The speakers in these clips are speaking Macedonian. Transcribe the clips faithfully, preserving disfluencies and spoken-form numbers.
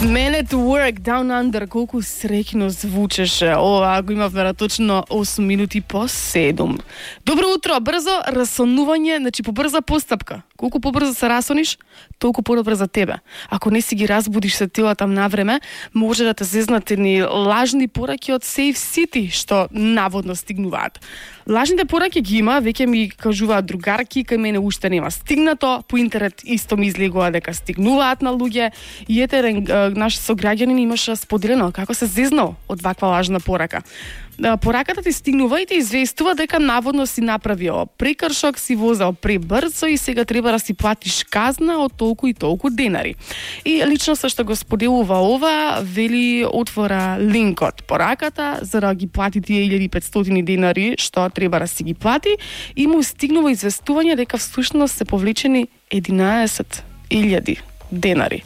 Man at Work, Down Under, колку среќно звучеше. Ова го имавме точно осум минути по седум. Добро утро, брзо расонување, значи побрза постапка. Колку побрзо се расониш, толку подобро за тебе. Ако не си ги разбудиш се телата на време, може да те зезнат едни лажни пораки од Safe City, што наводно стигнуваат. Лажните пораки ги има, веќе ми кажуваат другарки, кај мене уште нема стигнато, по интернет исто ми излегува дека стигнуваат на луѓе. И етерен наш сограѓанин имаше споделено како се зезнал од ваква лажна порака. Пораката ти стигнува и ти известува дека наводно си направио прекршок, си возел пребрзо и сега треба да си платиш казна од толку и толку денари. И лично со што го споделува ова, вели отвора линкот пораката за да ги плати тие илјади и петстотини денари што треба да си ги плати и му стигнува известување дека всушност се повлечени единаесет илјади денари.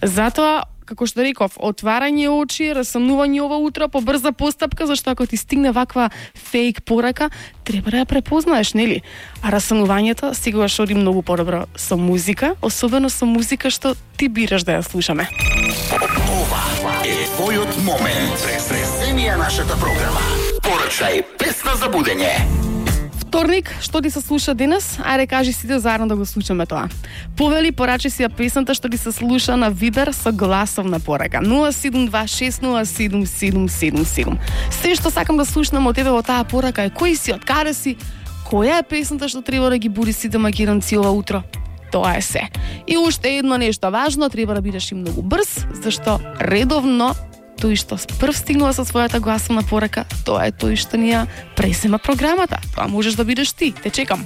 Затоа, како што реков, отварање очи, расонување ова утро по брза постапка, зашто ако ти стигне ваква фейк порака, треба да ја препознаеш, нели? А расонувањето сигурно оди многу подобро со музика, особено со музика што ти бираш да ја слушаме. Ова е твојот момент. Преземи ја нашата програма. Порачај песна за будење. Вторник, што ти се слуша денес? Ајде кажи сите заедно да го слушаме тоа. Повели, порачи си ја песната што ти се слуша на Вибер со гласовна порака. нула седум два шест нула седум седум седум седум. Се што сакам да слушнам од тебе во таа порака е кој си, од каде си, која е песната што треба да ги буди сите македонци ова утро. Тоа е се. И уште едно нешто важно, треба да бидеш и многу брз, зашто редовно тој што прв стигнува со својата гласовна порака, тоа е тој што ни ја презема програмата. Тоа можеш да бидеш ти. Те чекам.